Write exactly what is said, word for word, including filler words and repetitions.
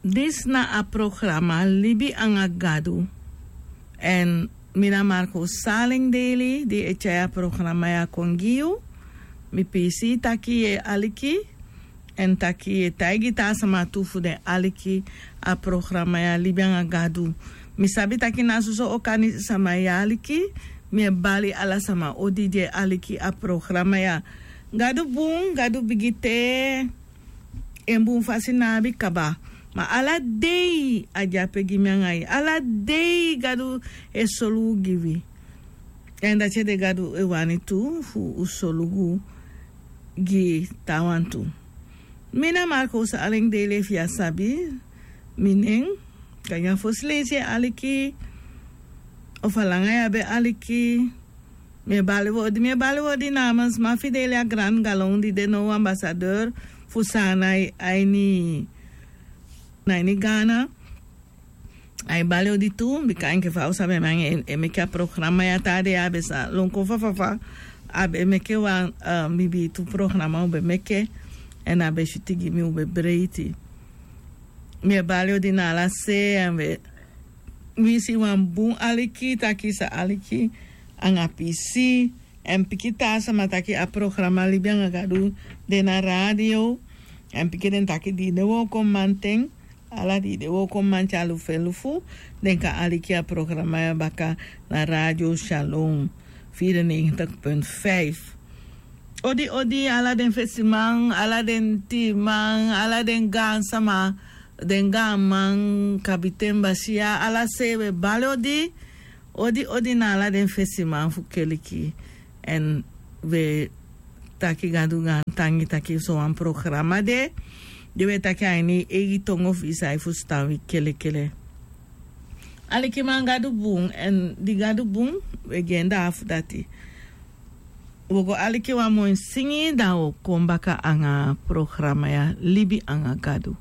Disi na a programa Libi anga Gadu. Èn mi na Marco Salingdeli di e tyai a programa ya kon gi yu. Mi piisii taki yu e aliki, èn taki yu e taigi taa sama tu fu den aliki a programa ya Libi anga Gadu. Mi sabi taki na soso okani sama e aliki. Mi e bali ala sama odi di e aliki a programa ya. Gadu bun, Gadu bigi te. En bun fasi ná abi kaba. Ma ala dei a de ape gi mi anga yu. Ala dei Gadu e solugu gi wi. Èn dati ede Gadu e wani tu fu un solugu gi taawan tu. Mi na Marco Salingdeli, efu yu á sabi mi nen. Kan yu a fosi leisi e aliki, ofu a langa yu á be aliki. Mi e bali odi, mi e bali odi namens Mafideli, a gran galon di de now ambassadeur fu Saanan a ini, na ini Ghana. A e bali odi tu, bika enke fa un sabi, mi anga en e meke a programa ya. Taa dei a be sa lon kon fa fa fa. A be meke wan, eh, biibi tu programa un be meke. Èn a be switi gi mi, un be breiti. Mi e bali odi na ala se, èn mi e winsi wan bun aliki, taki yu sa aliki anga piisii. Èn piki taa sama taki a programa Libi anga Gadu de na radio. Èn piki den taki di yu de wooko mamanten, ala di yu de wooko mamanten, a lufu e lufu, den kan aliki a programa ya baka na Radio Shalom vierennegentig punt vijf. Odi, odi, ala den fesiman, ala den tiiman, ala den gaansama, den gaanman, kabiten, basiya, ala se, wi e bali odi. Odi, odi na ala den fesiman fu keliki. Èn wi e taki Gadu gaantangi taki sowan programa de, di wi e taki a ini eigi tongo fu yu san e fusutan wi kelekele. Alikiman, Gadu bun, èn di Gadu bun, wi e gi en dati fu dati. Wi o go aliki wan moi singi, dan wi o kon baka anga programa ya Libi anga Gadu.